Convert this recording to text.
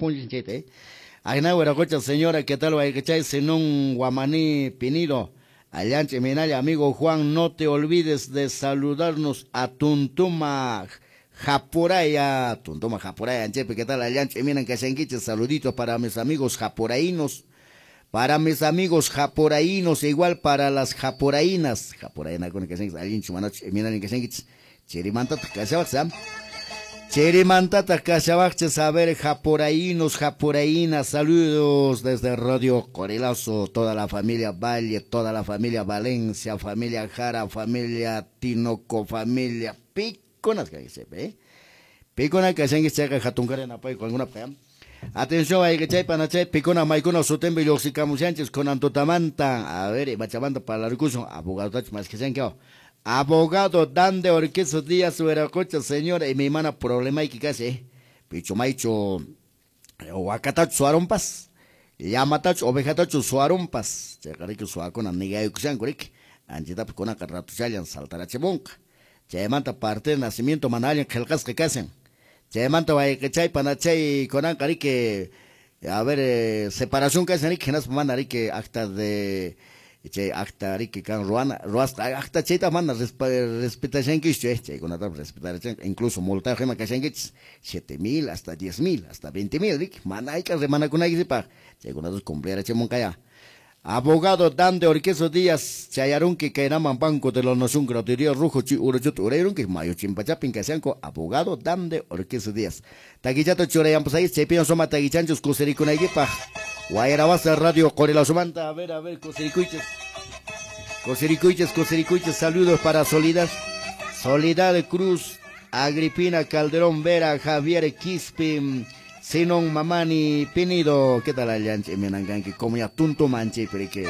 Apunchis chayta, eh. Agna Huiracocha, señora, ¿qué tal? Wayqichay, Zenón Guamaní Pinido. Allanche Minalla, amigo Juan, no te olvides de saludarnos a Tuntuma Japuraya. Tuntuma Japuraya, Anchepe, ¿qué tal? Allanche Minan Kashanquiche, saluditos para mis amigos japuraínos. Para mis amigos japuraínos, igual para las japuraínas. Japuraína con kashanquiche, allinchu manachu, Minan Kashanquiche. Chirimantata kashawaqcha. Chirimantata kashawaqcha, saber japuraínos, japuraínas, saludos desde Radio Corilazo, toda la familia Valle, toda la familia Valencia, familia Jara, familia Tinoco, familia Piconas, que se ve. Picona kashanki chayqa hatunkara napayku alguna pa. Atención, ayqichay panachay, picona maykuna sutimpi lluqsikamushanchis kunan tutamanta. A ver, imachamanta parlarkusun, abogado más que Abogado Dande Orquizo Díaz Huiracocha, señora, y mi mana problema hay que casi, picho maicho, wakatacho suarumpas, llamatacho, ovejatacho suarumpas, chayqariki suakuna nigayukushanku riki, anchitapas kunaqa ratuchallan saltarachimunqa, chaymanta parte de nacimiento mana allin qillqasqa kashan, chaymanta wayqichay panachay kunanqa riki, a ver, separación kashan riki, hinaspa mana riki acta de chay acta riki kan ruana ruasqa acta chayta mana respetashankichu, chaykunatapas respetarachanku, incluso multayuq ima kashankichis 7,000 hasta 10,000 hasta 20,000 riki, mana hayk'a rimanakunaykisipaq, chaykunatapas cumplirachimunqaya. Abogado Dante Orquizo Díaz, chayarunki kaynaman Banco de la Nación, Gradería Rojo, chi uruchuta urayrunki, mayo chimpachapin kashanku, abogado Dante Orquizo Díaz. Taquichato churayampas ahí, chaypiñan suma taquichanchus kusirikunaykipaq. Guayarabasa Radio Corilazo-manta, a ver, kusirikuychis. Kusirikuychis, kusirikuychis, saludos para Soledad. Soledad Cruz, Agripina Calderón Vera, Javier Quispe, Zenón Mamani Pinido. ¿Qué tal, Allanche? Menanganki, como ya tunto manche, pero que...